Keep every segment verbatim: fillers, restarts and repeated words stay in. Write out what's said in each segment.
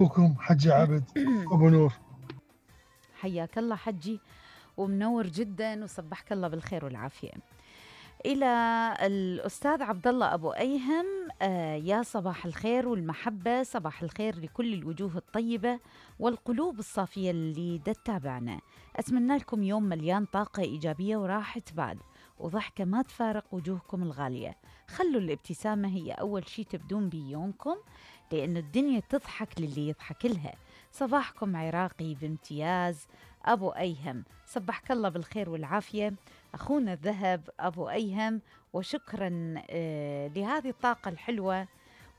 أخوكم حجي عبد أبو نور. حياك الله حجي ومنور جدا وصبحك الله بالخير والعافية. إلى الأستاذ عبد الله أبو أيهم، آه يا صباح الخير والمحبة، صباح الخير لكل الوجوه الطيبة والقلوب الصافية اللي دا تتابعنا. أتمنى لكم يوم مليان طاقة إيجابية وراحة بال وضحكة ما تفارق وجوهكم الغالية. خلوا الابتسامة هي أول شي تبدون بيه يومكم، لأن الدنيا تضحك للي يضحك لها. صباحكم عراقي بامتياز أبو أيهم، صبحك الله بالخير والعافية أخونا الذهب أبو أيهم، وشكرا آه لهذه الطاقة الحلوة.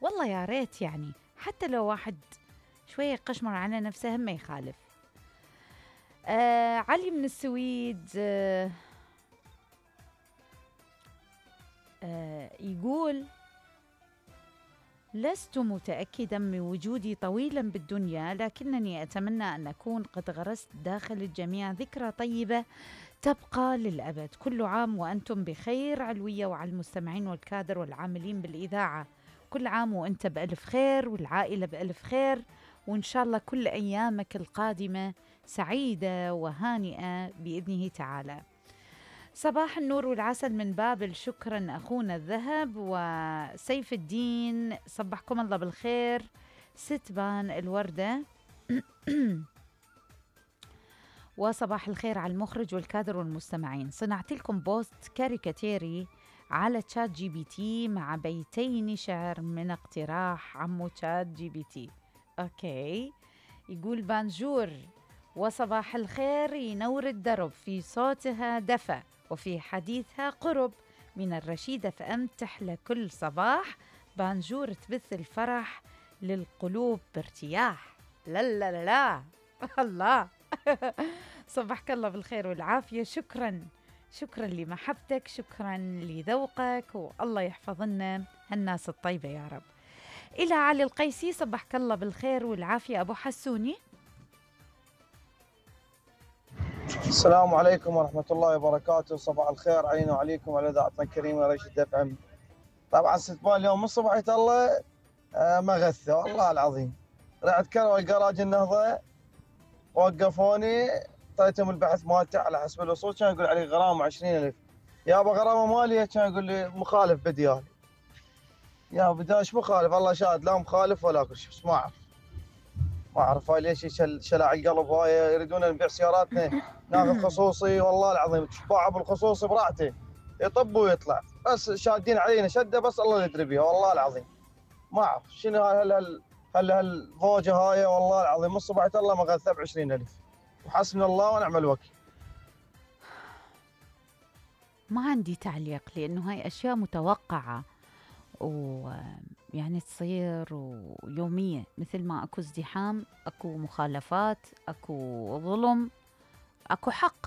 والله يا ريت يعني حتى لو واحد شوية قشمر على نفسه ما يخالف. آه علي من السويد آه آه يقول: لست متأكدا من وجودي طويلا بالدنيا، لكنني أتمنى أن أكون قد غرست داخل الجميع ذكرى طيبة تبقى للأبد. كل عام وأنتم بخير علوية، وعلى المستمعين والكادر والعاملين بالإذاعة كل عام وأنت بألف خير والعائلة بألف خير، وإن شاء الله كل أيامك القادمة سعيدة وهانئة بإذنه تعالى. صباح النور والعسل من بابل، شكرا أخونا الذهب. وسيف الدين صبحكم الله بالخير. ستبان الوردة وصباح الخير على المخرج والكادر والمستمعين. صنعت لكم بوست كاريكاتيري على تشات جي بي تي مع بيتين شعر من اقتراح عمو تشات جي بي تي. أوكي، يقول: بانجور وصباح الخير ينور الدرب، في صوتها دفى وفي حديثها قرب، من الرشيد اف ام تحلى كل صباح، بانجور تبث الفرح للقلوب بارتياح. لا لا لا لا الله صبحك الله بالخير والعافية. شكرا شكرا لمحبتك، شكرا لذوقك، والله يحفظ لنا هالناس الطيبة يا رب. إلى علي القيسي، صبحك الله بالخير والعافية أبو حسوني. السلام عليكم ورحمة الله وبركاته، صباح الخير علينا وعليكم وعلى إذاعتنا الكريمة رشيد اف ام. طبعا ستبان اليوم من صبحية الله آه مغثة والله العظيم. رحت كروي الجراج النهضة، وقفوني، اعطيتهم البحث مالته على حسب الوصول، كان يقول علي غرامة عشرين ألف. يابا غرامة مالية، كان يقول لي مخالف بديالي. يا بدي ايش مخالف؟ الله شاهد لا مخالف ولا كل شيء، بس ما اعرف ما اعرف هاي ليش يشل شلع القلب. هاي يريدون نبيع سياراتنا ناخذ خصوصي، والله العظيم تشبع بالخصوصي براحته يطب ويطلع، بس شادين علينا شده بس الله يدري بيها والله العظيم. ما اعرف شنو هل هل هل هالفوجه هاي والله العظيم. من صبحت الله مغثى ب عشرين ألف، وحسبنا الله ونعم الوكيل. ما عندي تعليق لأنه هاي أشياء متوقعة ويعني تصير ويومية، مثل ما أكو ازدحام أكو مخالفات أكو ظلم أكو حق.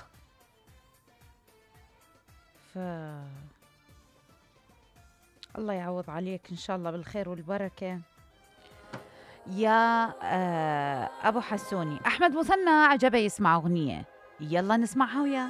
ف الله يعوض عليك إن شاء الله بالخير والبركة يا أبو حسوني. أحمد مثنى عجبه يسمع أغنية، يلا نسمعها وياه.